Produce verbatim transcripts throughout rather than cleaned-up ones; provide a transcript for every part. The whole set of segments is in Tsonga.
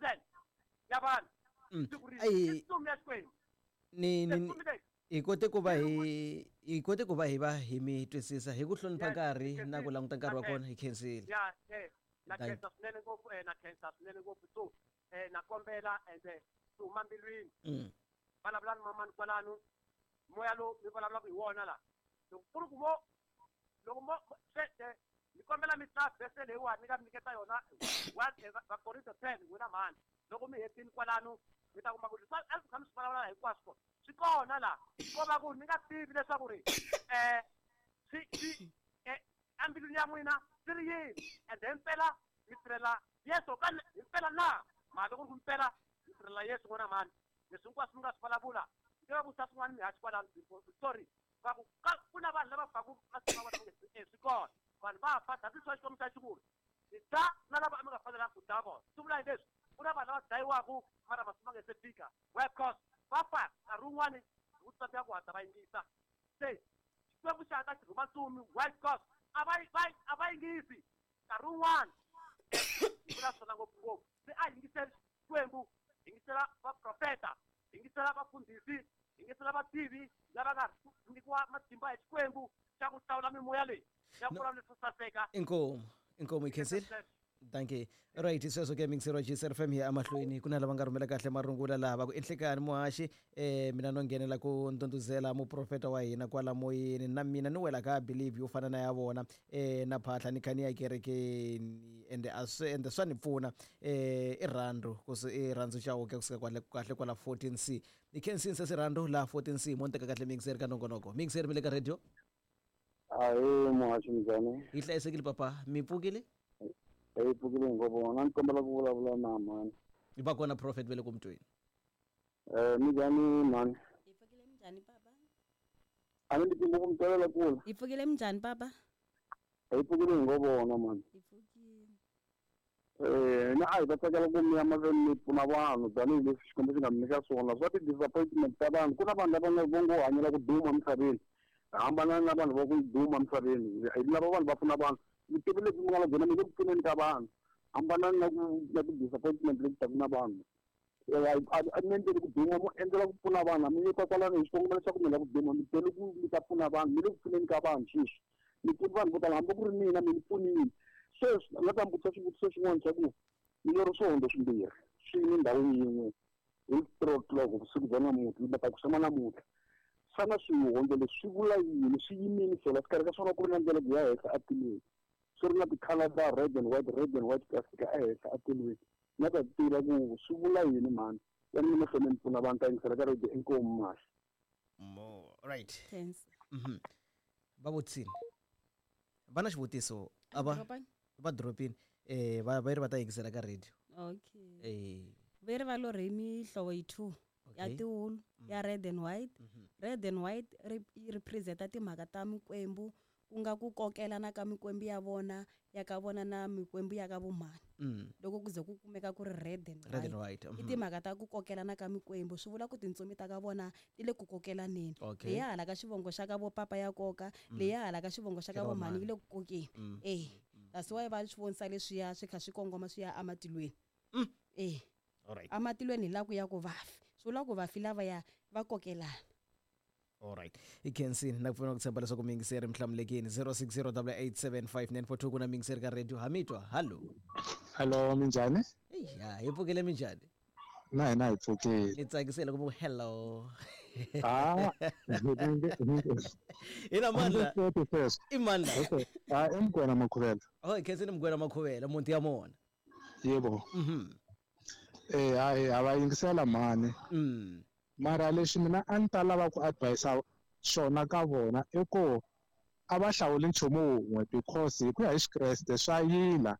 thousand ya vanhu Mm. siku rin'we. Ai. I ntsumi ya Xikwembu. Ni Se ni ntsumi leyi hi kote ku va hi hi kote ku va hi va hi mi twisisa hi ku hlonipha Yes, nkarhi hi na ku khensile. languta nkarhi wa Na kona hi khensile. Ya eh na Thank- khensa swinene ngopfu eh na khensa swinene ngopfu so eh na kombela ende swi huma mbilwini Mm. vulavulani mamani kwalano moya lowu mi vulavulaka hi wona la loko ku ri ku mo loko mo se eh, ni kombela mi hlaya vhese leyiwani ni nga mi nyiketa yona one eh, va- Vakorinto ten n'wina mhani loko mi hetini kwalano mi ta kuma ku leswi a swi kha mi swi vulavula hinkwaswo swi kona la ko va ku ni nga tivi leswaku ri eh swi swi eh embilwini ya n'wina swi ri yini ende himpela mi tirhela Yesu ka himpela na mhaka ku ri ku mpela mi tirhela Yesu n'wina mhani leswi hinkwaswo mi nga swi vulavula ni va vutisa swin'wana mihaxi kwalano before sorry va ku ka ku na vanhu lava faku masiku ma vona va nge eh, swi kona vanhu va fa that is why Xikwembu xa xi ni dya na lava a mi nga fanelanga ku dya vona swi vula hi leswi ku na vanhu lava dlayiwaku mara masiku ma nge se fika why because va fa nkarhi wun'wani hi ku tsandzeka ku hatla va yingisa se Xikwembu xi hatla xi rhuma ntsumi why because a va va a va yingisi nkarhi wun'wani hi vula swona ngopfungopfu se a yingiseli Xikwembu yingisela vaprofeta yingisela vafundhisi yingisela vativi lava nga nyikiwa matimba hi Xikwembu xa ku hlawula mimoya leyi ya ku No. vulavula leswo saseka Inkomu inkomu hi khensile. Dankie. Right, sweswo ke mixero wa G S F M hi ya emahlweni ku na lava nga rhumela kahle marungula laha va ku enhlekani muhaxi eh mina no nghenela ku ndhundhuzela muprofeta wa hina kwala moyeni na mina ni wela ka believe yo fana na ya vona eh na phahla ni kha ni ya kerekeni ende a swi ende swa ni pfuna eh i rhandzu ku i rhandzu Chauke kusuka kwale kahle kwala fourteen C ni khensini sesi rhandzu laha fourteen C mo ni teka kahle mixer ka nongonoko mixer mi le ka radio. Ahee muhaxi, minjhani? Hi hlayisekile papa, mi pfukile? Hi pfukile ngopfu na ni kombela ku vulavula na mhani. Va kona prophet ve le ku mutweni. um minjhani mhani? Hi pfukile, minjhani papa? A ni ndzi ku mi twalela kule. Hi pfukile, minjhani papa? Hi pfukile hi ngo vona mhani. Hi pfukile. um ni a hi ta tsakela ku mi ya mahlweni mi pfuna vanhu tanihileswi Xikwembu xi nga mi nyika swona swa ti-disappointment ta vanhu. Ku na vanhu lava nga vo ngo hanyela ku duma misaveni, hambana na vanhu va ku duma misaveni. Hi lava vanhu va pfuna vanhu. Vutivi lebyi mi nga na byona mi le ku pfuneni ka vanhu, hambanani na ku na ti-disappointment leti taka na vanhu. A mi endleli ku duma, mo endlela ku pfuna vanhu. A mi yeka kwalano hi xikongomelo xa ku mi lava ku duma, mi tele ku mi ta pfuna vanhu. Mi le ku pfuneni ka vanhu sweswi, mi pfuni vanhu vo tala, hambi ku ri mina mi ni pfunile. Sweswi ni nga ta mi vutisa xivutiso xin'wana xa ku ni lori swihondzo swimbirhi swi yime ndhawu yin'we hi three o'clock vusiku bya namuntlha, mi ta ku xama namuntlha. Xana swihondzo leswi swi vula yini? Swi yimile swona xikarhi ka swona ku ri na ndlela ku ya henhla atilweni, swi ri na ti-colour ta red and white, red and white ku ya fika ehenhla atilweni. Ni nga ta tiva ku swi vula yini mhani? Ya ni mahlweni mi pfuna vanhu, ta yingisela ka radio. Inkomu mahla. Mo right. Thanks. Mhm va vutisini, va na xivutiso a va Dropani? Va dropini eh va va ri va ta yingisela ka radio. Okay. Eh ve ri va lorhe mihlovo yi two ya Okay. tiwulu ya red and white. Red and white ri- yi representa timhaka ta mikwembu, ku nga ku kokelana ka mikwembu ya vona ya ka vona na mikwembu ya ka vomhani. Mm. Loko ku ze ku kumeka ku ri red and Red and white, white, i mhm. timhaka ta ku kokelana ka mikwembu. Swi vula ku tintsumi ta ka vona ti le ku kokelaneni. Okay. Leya hala ka xivongo xa ka vo papa ya koka, leya hala ka xivongo xa ka Xa ka vomhani vomhani. yi le ku kokeni. Mm. Eh that's why va swi vonisa leswiya swi kha swi kongoma swi ya ematilweni eh Alright. Amatilweni hi la ku ya ku vafi, swi vula ku vafi lavaya va kokelana. Alright, i khensini na ku pfuna ku tshemba leswaku miyingiseri mi hlamulekini. zero six zero eight seven five nine four two ku na miyingiseri ka radio. Ha mi twa, hallo. Hello, minjhani? Ya, hi pfukile, minjhani? Na hina hi pfukile. Ni tsakisile ku mu hello. Ah, ina mani la? Sweswo. I mani la? Okay. Ah, i Mugwena Makhuvela. Oh, hi khensini Mugwena Makhuvela, muti ya mona. Yebo. Mhm Eh, hayi, ha va yingisela mhani. Mm mara lexi mina a ni ta lava ku advise xona ka vona i ku a va hlawuli nchumu wun'we, because hi ku ya hi Xikreste swa yila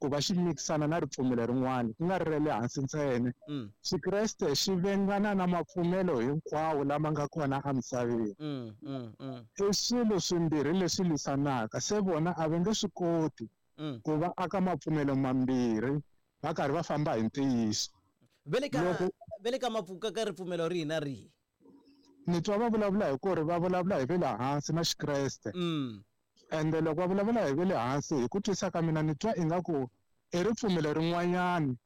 ku va xi mikisana na ripfumelo rin'wana ku nga ri ra le hansi ntsena. Mm Xikreste xi vengana na mapfumelo hinkwawo lama nga kona emisaveni. mm mm mm I swilo swimbirhi leswi lwisanaka, se vona a va nge swi koti mm ku va aka mapfumelo mambirhi va karhi va famba hi ntiyiso. Ve le ka Loko- ve le ka mapfuka ka ripfumelo rihi na rihi? Ni twa va vulavula hi ku ri va vulavula hi ve le hansi na Xikreste. Mm ende loko va vulavula hi ve le hansi, hi ku twisa ka mina ni twa ingaku i ripfumelo rin'wanyani.